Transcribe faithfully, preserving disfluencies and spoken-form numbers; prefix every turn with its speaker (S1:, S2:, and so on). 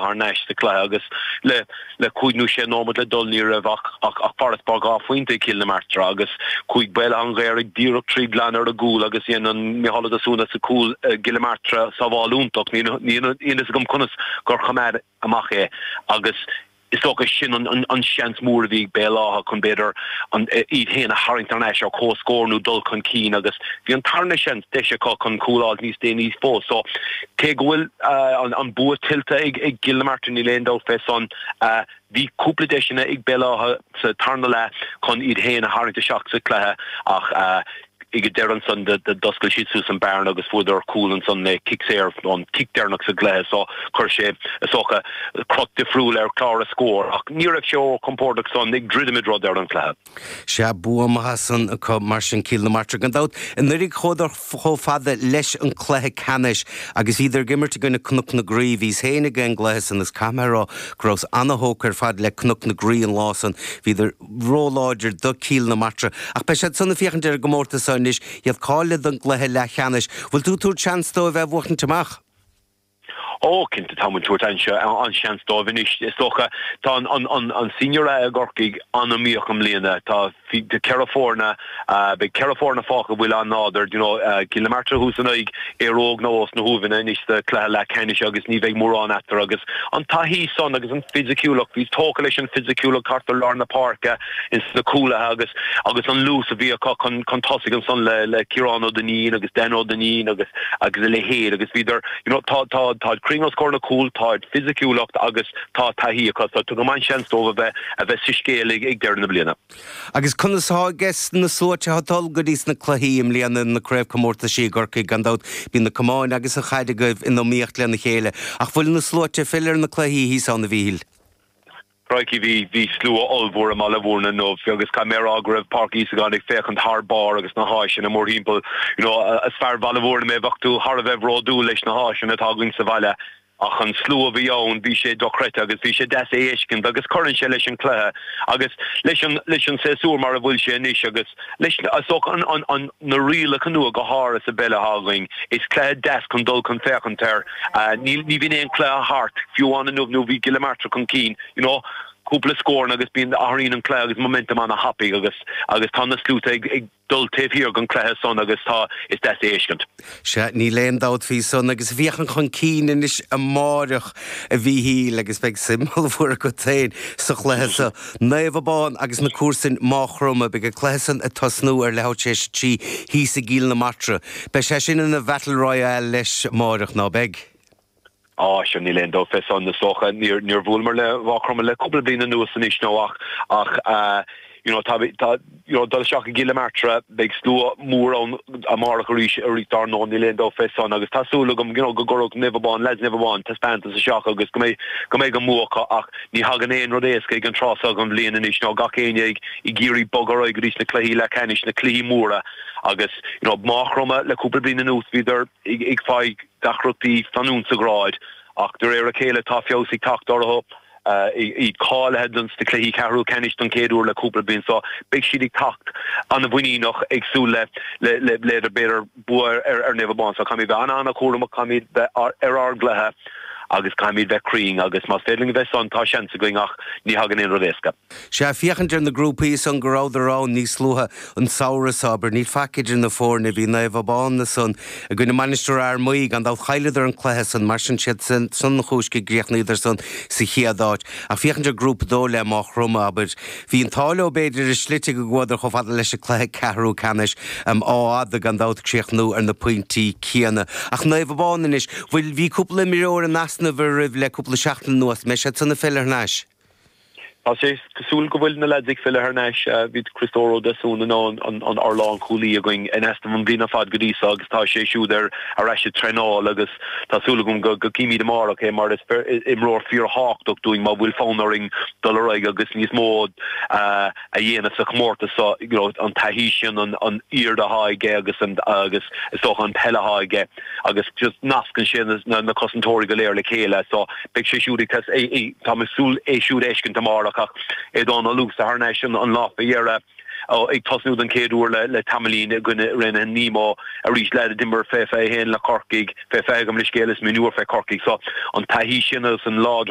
S1: Átha thar n-ais sa chluiche agus le le cúig nó sé nóiméad le dul ní raibh ach ach ach farasbarr dhá phointe ag Cill na Martra agus chuaigh Béal Átha an Ghaorthaidh díreach trí glan ar a gcúl agus dhein an Micheál Ó Deasúna sa cúl gCill na Martra sábháil iontach níl níl fhios agam conas gur choimeád amach é agus is dócha sin an, an, an seans mór a bhí ag Béal Átha chun b'fhéidir iad féin a tharraingt thar n-ais ar comhscór nó dul chun cinn agus bhí an tarna seans deis acu chun cúl a fháil níos déanaí fós. So cé go bhfuil uh, an, an bua tuillte ag, ag Cill na Martra níl aon dabht fé san uh, bhí cúpla deiseanna ag Béal Átha sa tarna leath chun iad féin a tharraingt isteach sa chluiche ach uh, ag an deireadh ansan d'oscail siad suas an bearna agus fuaireadar cúl ansan le cic saor an cic deireanach sa gcluiche so chuir sé is dócha cruth difriúil ar chlár a scór ach ní raibh sé compordach san ag druidim rud ar an chluiche.
S2: Sea bua maith san acu mar sin Cill na Martra gan dabht anuraidh chuadar chomh fada leis an cluiche ceannais agus bhíodar ag imirt i gcoinne Cnoc na Graí bhíos féin ag an gcluiche san is caithfidh mé a rá go rabhas an-thógtha ar fad le Cnoc na Graí an lá san bhíodar róláidir do Cill na Martra ach beidh siad san ag féachaint ar an gcomórtas seo anois iad cáilithe don gcluiche leathcheannais. Bhfuil tú tabhairt seans dóibh a bhuachaint amach?
S1: Ó cinnte tá tabhairt an seans dóibh anois is dócha tá an, an, an, an senior A i gCorcaigh an-iomaíoch i mbliana tá de ceithre foirne beidh ceithre foirne fágtha bhfuil an-láidir you know, uh, Cill na Martra thuas in aghaidh Éire Óg nó os na hUaimheanna anois sa cluiche leathcheannais agus ní bheidh mórán eatarthu agus an taithí san agus an fisiciúlacht bhí tógtha leis an fisiciúlacht thart ar lár na páirce ins na cúlaithe agus agus an luas a bhí acu chun chun tosaigh ansan le le Ciarán Ó Duinnín agus Dan Ó Duinnín agus agus a leithéid agus bhíodar you know, tá tá tá cruinn os comhair na cúl tá fisiciúlacht agus tá taithí acu so tugaim an seans dóibh a bheith a bheith sa scéal ag ag deireadh na bliana.
S2: Agus conas agus na sluaite ag dul go dtí na cluichí i mbliana na craobhchomórtaisí i gCorcaigh gan dabht bíonn na camáin agus an chaid agaibh in iomaíocht lena chéile, ach bhfuil na sluaite filleadh ar na cluichí thíos ann a Mhíchíl.
S1: Crikey bhí bhí slua ollmhór i mBaile Bhúirne inniu agus caithfidh mé a rá go raibh Páirc Íosagáin ag féachaint thar barr agus na háiseanna mórthimpeall you know, is fear Bhaile Bhúirne mé bheadh tú thar a bheith bródúil leis na háiseanna atá againn sa bhaile ach an slua a bhí ann bhí sé dochreidte agus bhí sé deas é a fheiscint agus cuireann sé leis an cluiche agus leis an leis an séasúr mar a bhfuil sé anois agus leis an, an, an, na rialacha nua go háirithe sa bpeil atá againn is cluiche deas chun dul chun féachaint air uh, ní ní bhíonn aon cluiche thart fiú amháin inniu nó bhí Cill na Martra chun cinn you know cúpla scór agus bíonn athraíonn an cluiche agus momentum an-thapaidh agus agus tá na sluaite ag, ag dul taobh thiar den chluiche san agus tá is deas é a fheiscint.
S2: Sea níl aon dabht faoi san agus féachaint chun cinn anois amárach a Mhíchíl agus beidh suim mhór agat féin sa chluiche sa Naomh Abán agus na comharsain Maigh Chromtha beidh an cluiche san ag tosnú ar leathuair tar éis a trí thíos i gCill na Martra. Beidh sé sin ina Battle Royale leis amárach ná beidh.
S1: Á sin níl aon dabht fé san is dócha níor níor bhuaileamar le Maigh Chromtha le cúpla bliain anuas anois nó ach ach uh, you know, tá, tá you know, dul isteach i gCill na Martra beidh slua mór ann amárach arís arís dar ndóigh níl aon dabht fé san agus tá súil agam you know, go gcuirfidh Naomh Abán lads Naomh Abán taispeántas isteach agus go mbeidh go mbeidh an bua acu ach ní thagann aon rud éasca ag an tráth seo den bhliain anois nó gach éinne ag ag iarraidh bogadh ar aghaidh go dtí na cluichí leathcheannais na cluichí móra agus you know, Maigh Chromtha le cúpla bliain anuas bhíodar ag, ag fáil deacrachtaí fanúint sa ghrád ach de réir a chéile tá feabhas ag teacht orthu uh, iad cáilithe don na cluichí ceathrú ceannais don chéad uair le cúpla bliain so beidh siad ag teacht an-mhuiníneach ag súil le le le le b'fhéidir bua ar ar Naomh Abán so caithfimid bheith an-an-chúramach caithfimid bheith ar ar ár gcluiche agus caithfimid bheith cruinn agus más féidir linn bheith san tá seans againn ach ní thagann aon rud éasca.
S2: Sea féachaint ar na grúpaí san go rabhadar ann níos luaithe an samhradh seo abair níl faic idir na foirne bhí Naomh Abán san i gcoinne Mainistir Fhear Maí gan dabht chailleadar an cluiche san mar sin siad san san chúis go gcríochnaíodar san sa chéad áit ach féachaint ar grúpa dó le Maigh Chromtha abair. Bhí an t-ádh leo b'fhéidir i slite go gcuadar chomh fada leis an cluiche ceathrú ceannais um, á gan dabht críochnú ar na pointí céanna. Ach Naomh Abán anois, bhfuil bhí cúpla imreoir in easnamh roimh le cúpla seachtain anuas, mbeidh siad san ag filleadh thar n-ais.
S1: Tá sé cosúil go bhfuil na lads ag filleadh thar n-ais bhí Christóir Ó Deasún an an an ár lánchúlaí againn in easnamh an bhliain ar fad go dtí seo agus tá sé siúd ar ar ais ag traenáil agus tá súil agam go go gcífimid amárach é mar is imreoir fíorthábhachtach dúinn má bhfuil fonn orainn dul ar aghaidh agus níos mó uh, a dhéanamh sa chomórtas so you know, an taithí sin an an airde atá aige agus an agus is dócha an peil atá aige agus just nascann sé na, na cosantóirí go léir le chéile so beidh sé siúd ag tá súil é siúd a fheiscint amárach ach Aodán Ó Luasa thar n-ais an, an lá faoi dheireadh ag tosnú den chéad uair le, le tamaillín i gcoinne Raonaithe Nemo arís le d'imir fé fiche haon le Corcaigh fé fiche gabh mo leithscéal is mionúr fé Corcaigh so an taithí sin agus an lá